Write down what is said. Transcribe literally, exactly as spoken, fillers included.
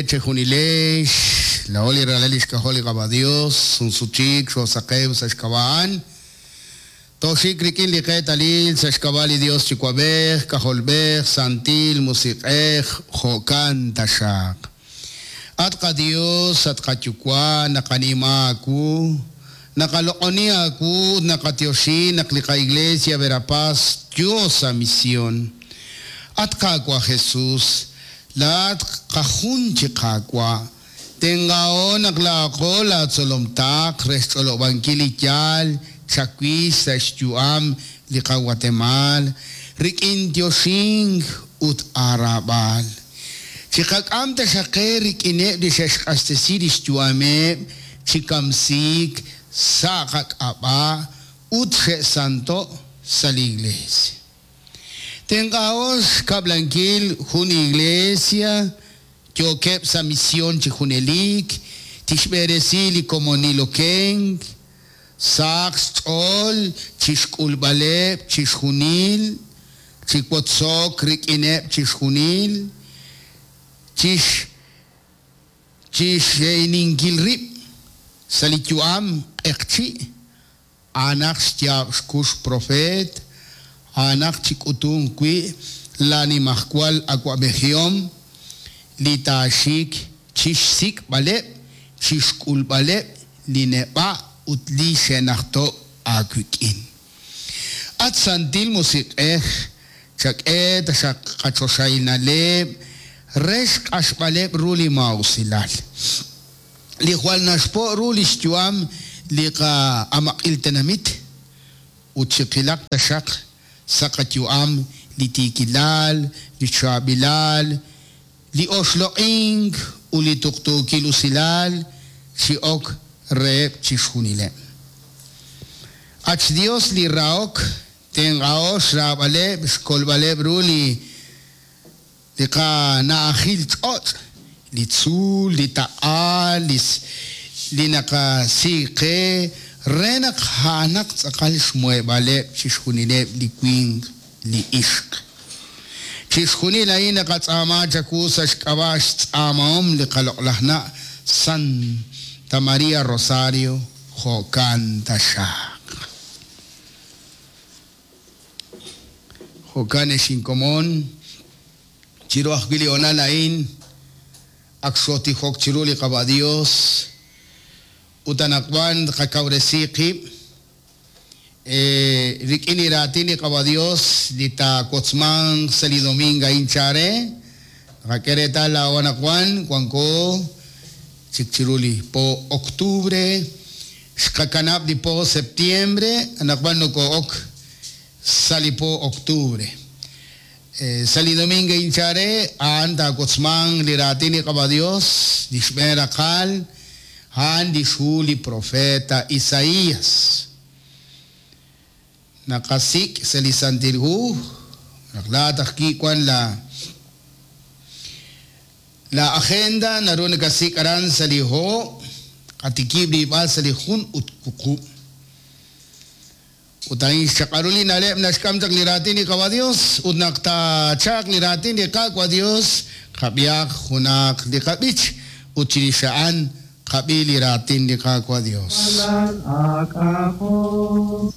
Tere chejunilex, laoli ralal ixk'ajol li Qaawa' Dios, sunsuchik xoosaqew sa' xk'ab'a'an. Toxik rik'in li qeetalil sa' xk'ab'a' li Dios Yuwa'b'ej, K'ajolb'ej, Santil Musiq'ej, jo'kan taxaq. At qaDios, at qaYuwa', naqanima aawu, naqaloq'oni aawu ut naqatyoxi naq li qaIglesia Verapaz yo sa' misión. At Qaawa' Jesus, laat qajun chi Qaawa', tenq'aho naq laaqo laatzolomtaq re xch'olob'ankil li yaal chawix sa' xyu'am li qaWatemal rik'in yoxink ut aaraab'al. Chiqak'am taxaq qe rik'ineb' li xe'xq'axtesi li xyu'ameb' chi kamsiik sa' qak'ab'a' ut xe'santo' sa' li iglesia. Tenq'aho xkab'lankil jun iglesia yookeb' sa' misión chi junelik, tixb'eresi li komonil okenk, saq xch'ool chixk'ulb'aleb' chixjunil, chiwotzok rik'ineb' chixjunil, chix chixxe'ininkil rib' sa' li yu'am q'eqchi', a'anaq xyaab' xkux profeet, a'anaq chik'utunk wi' lanimajwal awa'b'ejihom li taaxik chixsik'b'aleb' chixk'ulb'aleb' li neb'a' ut li xe'najto' aawik'in. At Santil Musiq'ej, chak'e taxaq qachoxahil na'leb' re xq'axb'aleb' ru li maa'usilal. Li jwal naxpo' ru li xyu'am li qa'amaq'il tenamit ut chiqilaq taxaq sa' qayu'am li tiikilal, li chaab'ilal, li oxloq'ink ut li tuqtuukil usilal chi ok reheb' chixjunileb'. At xDios li rahok, tenq'aho xraab'aleb' xkolb'aleb' ru li li qana'ajil ch'och', li tzuul, li taq'a, li li naqasik qe re naq a'anaq tz'aqal xmuheb'aaleb' chixjunileb' li winq li ixq. Chixjunil a'in naqatz'aama chawu sa' xk'ab'a' xtz'aamahom li qaloq'laj na' Santa María Rosario, jo'kan taxaq. Jo'kan ex inkomon, chiru ajwi' li honal a'in, ak xotijok chiru li Qaawa' Dios, ut anaqwan qakawresi qib', rik'in li raatin li Qaawa' Dios, li taawotzmanq sa' li domingo a'in chare, qak'e reetal laa'o anaqwan, wanko chik chiru li po octubre, xqakanab' li po septiembre, anaqwan noko'ok sa' li po octubre. Sa' li domingo a'in chare, a'an taawotzmanq li raatin li Qaawa' Dios, li xb'een raqal, a'an li xhu li profeta Isaías. Naqasik' sa' li Santil Hu, naq laat ajwi' wan la la agenda naru nakasik' aran sa' li ho, qatikib' liib'al sa' li jun ut wuqub'. Ut a'in xchaq'aru li na'leb' naxk'am chaq li raatin li Qaawa' Dios, ut naq taachaq li raatin li Qaawa' Dios, qab'ihaq junaq li qab'ich, ut chirix a'an qab'i li raatin li Qaawa' Dios. Alal ak'ajol.